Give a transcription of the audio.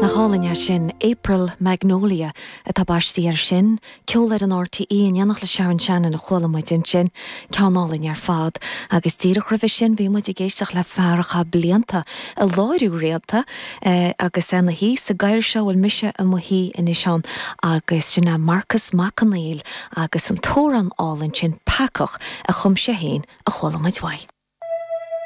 Nach álainn é sin? April Magnolia atá baistí air sin. Ceol ar an RTÉ in éineacht le Sharon Shannon a chuala muid ansin. Ceann álainn ar fad. Agus díreach roimhe sin bhí muid ag éisteacht le fear a chaith blianta ag láithriú réalta agus é ina shuí sa gcathaoir seo a bhfuil mise i mo shuí anois ann agus sin é Marcus Mac Conghail agus an t-amhrán álainn sin 'Peacach' a chum sé féin a chuala muid uaidh.